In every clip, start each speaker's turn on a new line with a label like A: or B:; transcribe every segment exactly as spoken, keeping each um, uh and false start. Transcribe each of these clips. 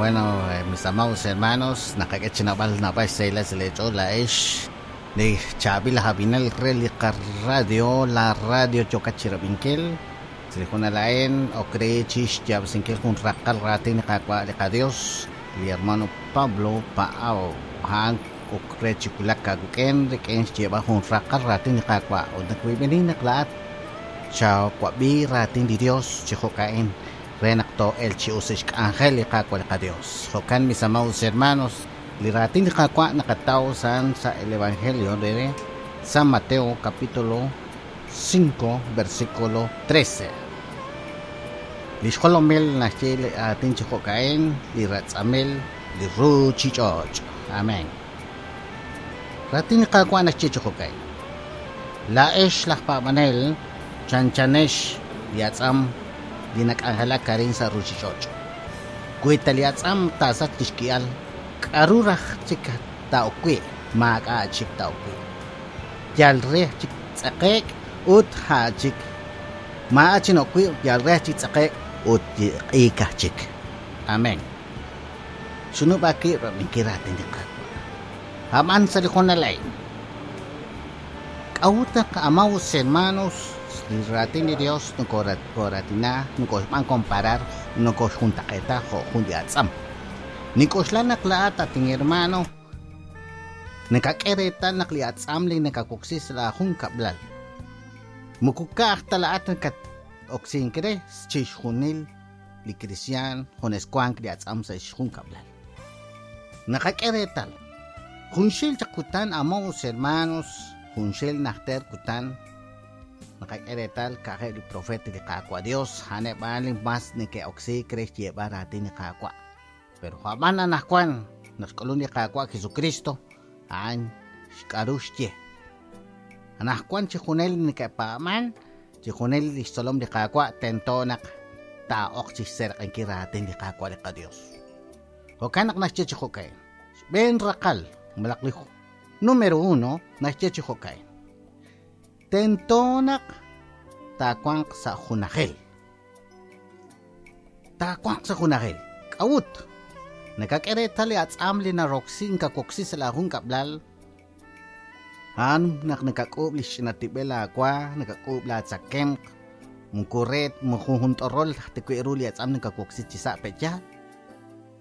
A: Bueno, eh, mis amados hermanos, naqak'e chi nab'al nab'al xsahilal sa' leech'ool laa'ex li chaab'il aj ab'inel re li qaradio, la radio yokat chi rab'inkil. Sa' li junal a'in ok re chi xyaab'asinkil jun raqal raatin li Qaawa' li qaDios, li hermano Pablo Paao. A'an ok re chi wulak aawik'in rik'in xyeeb'al jun raqal raatin li Qaawa'. Ut nakwib'inin naq laa'at chawab'i raatin li Dios chi jo'ka'in re naq too'el chi us xk'anjel li Qaawa' li qaDios. Jo'kan, mis amados hermanos, li raatin li Qaawa' naqataw san sa el Evangelio de San Mateo capítulo cinco versículo trece. Li xjolomil naxye li aatin chi jo'ka'in, li ratz'amil li ruchich'och'. Amén. Raatin li Qaawa' naxye chi jo'ka'in. Laa'ex laj paab'anel chanchanex li atz'am li nak'anjelak arin sa' ruchich'och'. Wi ta li atz'am taasach li xki'al, k'aru raj chik taa'ok wi', maak'a' chik taa'ok wi'. Yal re chik tz'eqe'k ut ja' chik. Maa'a chi nok wi', yal re chik tz'eqe'k ut q'iikaj chik. Amén. Xunub'a kiib' rab'inkil raatin li Qaawa'. Ab'an sa' li junal a'in. K'a'ut naq, amados hermanos, li raatin li Dios nokoratina, nokoxb'an comparar, nokoxjuntaq'eeta jo' jun li atz'am. Nik'oxla naq laa'at atin hermano, nakak'e reetal naq li atz'am li nakawoksi sa' la jun kab'lal. Moko ka'aj ta laa'at nakat-oksink re chixjunil li cristian junes wank li atz'am sa' xjun kab'lal. Nakak'e reetal. Junxil chaq kutan, amados hermanos, junxil najter kutan, nakak'e reetal ka'aj li profeta li Qaawa' Dios, a'aneb' li mas neke'oksiik re xyeeb'al raatin li Qaawa'. Pero ab'an anaqwan naq xk'ulun li Qaawa' Jesucristo, a'an xk'aru xye. Anaqwan chi junel neke'paab'an, chi junel li xtzolom li Qaawa' tento naq taa'oq chi xserq'inkil raatin li Qaawa' li qaDios. Jo'kan naq naxye chi jo'ka'in. Xb'een raqal, malaj li número uno, naxye chi jo'ka'in. Tento naq taawanq sa' junajil. Taawanq sa' junajil. K'a'ut? Nakak'e reetal li atz'am li naroksi nkawoksi sa' la jun kab'lal. A'an naq nakak'uub' li xch'inatib'el aawa, nakak'uub' laatzakemq, moko re moko jun t'orol tikwi' ru li atz'am nakawoksi chi sa' pe'yaal.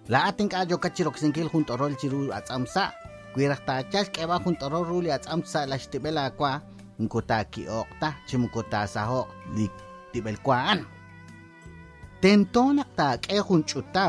A: Laa'at ink'a' yokat chi roksinkil jun t'orol chiru atz'am sa'. Wi raj taayal xk'eeb'al jun t'orol ru li atz'am sa' la xtib'el aawa, moko taaki'oq ta chi moko taasaho'q li tib'el wa a'an. Tento naq taak'e jun ch'uta